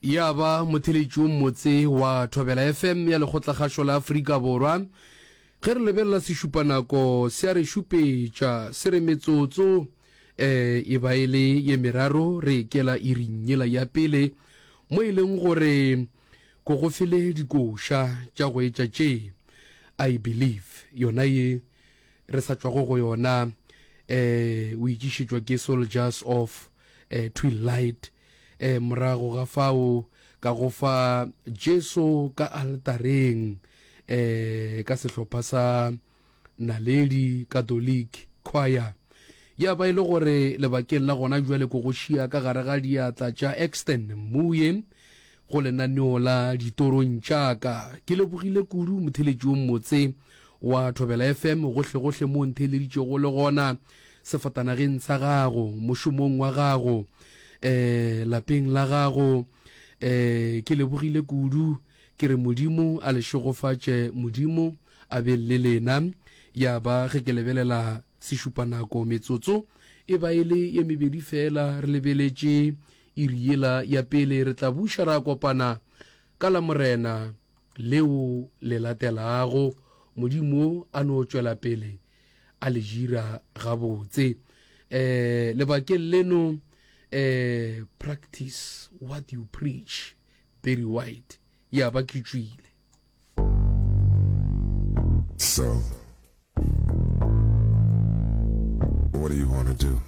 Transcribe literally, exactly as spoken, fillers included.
Ya ba motheletši wo mmotse wa Thobela F M ya Lekgotlakgašo la Afrika Borwa. Ge re lebelela sešupanako se a re šupetša se re metsotso eh, e ba e le ye meraro re ekela iring yela ya pele mo e leng gore ko go fele dikoša tša go etša tše I Believe yona ye re sa tšwago go yona eh o itšišetšwa ke Soldiers of eh, Twilight eh morago ga fao ka go fa Jesu ka altareng eh ka sehlopha sa Naledi Catholic Choir. Ya ba e le gore lebakeng la gona bjale ko go šia ka gare ga diatla tša Exton Mmuye go lenaneo la Ditorong tša ka. Ke lebogile kudu motheletši wo mmotse wa Thobela F M gohlegohle mo o ntheeleditšego le gona sefatanageng sa gago, mošomong wa gago, eh lapeng la gago. Eh ke lebogile kudu ke re Modimo a le šegofatše, Modimo a be le lena. Ya ba ge ke lebelela sešupanako metsotso e ba e le ye mebedi fela re lebeletše iri yela ya pele. Re tla buša ra kopana ka la Morena leo le latelago. Modimo a no tšwela pele a le dira gabotse. Eh lebakeng leno eh practice what you preach, Barry White. Ya ba ke tšwile. So, what do you want to do?